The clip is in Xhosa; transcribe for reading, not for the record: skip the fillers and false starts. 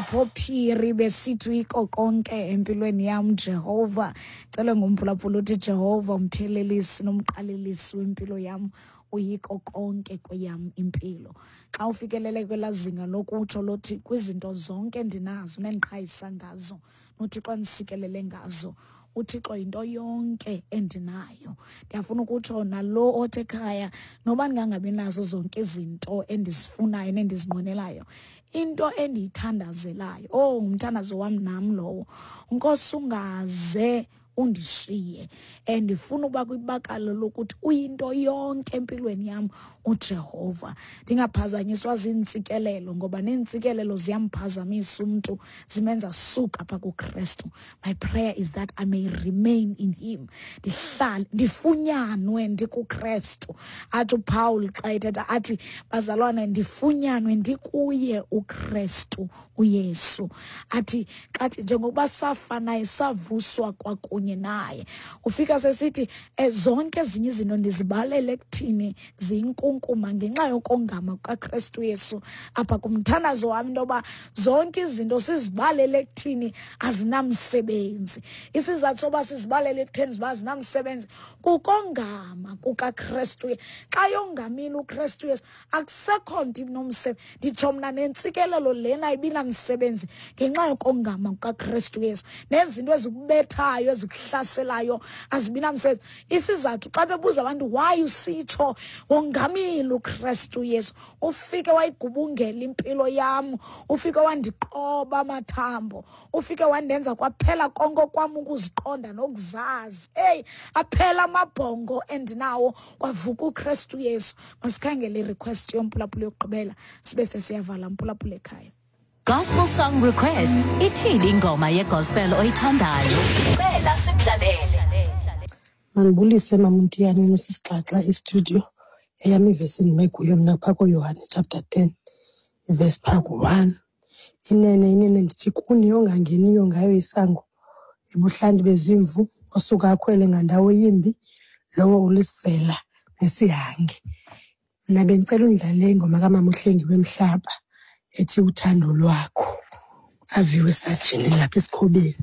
uSipho Phiri besithi uyiko konke empilweni yam Jehova. Cela ngumphulaphula uthi Jehova umphelelisi nomqalelisi wempilo yam uyiko konke kweyam impilo. Xa ufikelele kwelaa zinga lokutsho lothi kwizinto zonke endinazo nendiqhayisa ngazo noThixo andisikelele ngazo uThixo yinto yonke endinayo. Ndiyafuna ukutsho nalo othi ekhaya noba ndingangabi nazo zonke izinto endizifunayo nendizinqwenelayo, into endiyithandazelayo, oh ngumthandazo wam nam lowo, Nkosi ungaze undishiye. Ndifuna uba kwibakala lokuthi uyinto yonke empilweni yam uJehova. Ndingaphazanyiswa ziintsikelelo ngoba neentsikelelo ziyamphazamisa umntu, zimenza suka apha kuKrestu. My prayer is that I may remain in him. Ndihlale, ndifunyanwe ndikuKrestu. Athi uPaul xa ethetha athi bazalwane ndifunyanwe ndikuye uKrestu uYesu. Athi xathi njengokuba safa naye savuswa kwakunye naye. Ufika sesithi zonke ezinye izinto ndizibalele ekuthini ziyinkunkuma ngenxa yokongama kukaKrestu Yesu. Apha kumthandazo wam into yoba zonke izinto sizibalele ekuthini azinamsebenzi. Isizathu soba sizibalele ekutheni ziba azinamsebenzi kukongama kukaKrestu. Xa yongamile uKrestu Yesu akusekho nto inomsebenzi. Nditsho mna nentsikelelo lena ibinamsebenzi ngenxa yokongama kukaKrestu Yesu. Nezinto ezikubethayo ezikuhlaselayo azibinamsebenzi. Isizathu xa bebuza abantu why usitsho wongamile uKrestu Yesu, ufike wayigubungela impilo yam, ufike wandiqoba amathambo, ufike wandenza kwaphela konke kwam ukuziqonda nokuzazi. Eyi, aphela amabhongo endinawo kwavuka uKrestu Yesu. Masikhangele i-request yomphulaphula yokugqibela sibe sesiyavala mphulaphula ekhaya. Gospel song requests. Ithini ingoma yegospel oyithandayo? Cela sikudlalele. Mandibulise Mamntiyane nosisixaxa estudio. Eyam ivesi endime kuyo mna phaa kuYohane chapter 10 ivesi phaa ku-1. Inene, inene ndithi kuni ongangeniyo ngayo isango ebuhlanti bezimvu osuka akhwele ngandawo yimbi lowo ulisela nesihange. Mna bendicela undlalele ingoma kamama uHlengi wemhlaba ethi uthando lwakho. Aviwe sajini lapha esikhobeni.